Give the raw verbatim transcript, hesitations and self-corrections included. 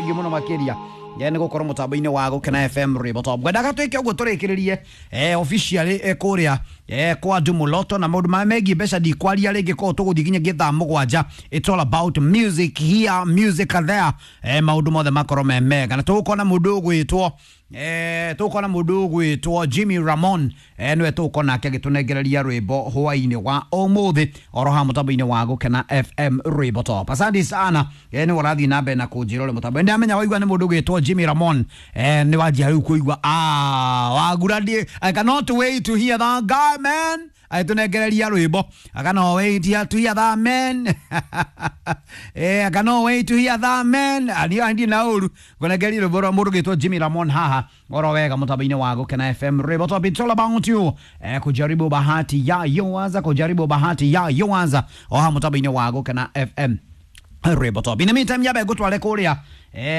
Thank you muno makiria ye nä gå korwo må tambo-inä wa gå kena F M rwä top. Ngwendaga twä ke å guo tå rä kä rä rie officially eh, kå rä a eh, kwa Ndumuloto na maå ndå megiä mbeca ndikwaria rä ngä korwo tå gå thiä nginya thaa mũgwanja. It's all about music here, music there, eh, maå ndå mothe makorwo me mega na tå gå kona må ndå å gwä two eh, tũkona mũndũ ũgwĩtwo Jimmy Ramon, eh, nĩwe tũgũkorwo nake agĩtũnengereria rwĩmbo hwainĩ wa ũmũthĩ oro ha mũtambo-inĩ wa Gũkena F M rwĩmbo top. Asante sana, eh, nĩwe ũrathiĩ na mbere na kũnjĩra ũrĩa mũtambo ndamenya waigua nĩ mũndũ ũgwĩtwo Jimmy Ramon, eh, nĩ wanjia rĩu kũigua ah, wagura ndi I cannot wait to hear that guy, man, agĩtũnengereria rwĩmbo. I cannot wait to hear that man. Eh, I cannot wait to hear that man. Ani ndi na ũru ngũnengereria rwĩmbo rwa mũndũ ũgwĩtwo Jimmy Ramon haha oro wega mũtambo-inĩ wa Gũkena F M rwĩmbo top. It's all about you, eh, kujaribu bahati ya yoanza, kujaribu bahati ya yoanza oha mũtambo-inĩ wa Gũkena F M rwĩmbo top. In the meantime, nyabe ngũtware kũrĩa eh,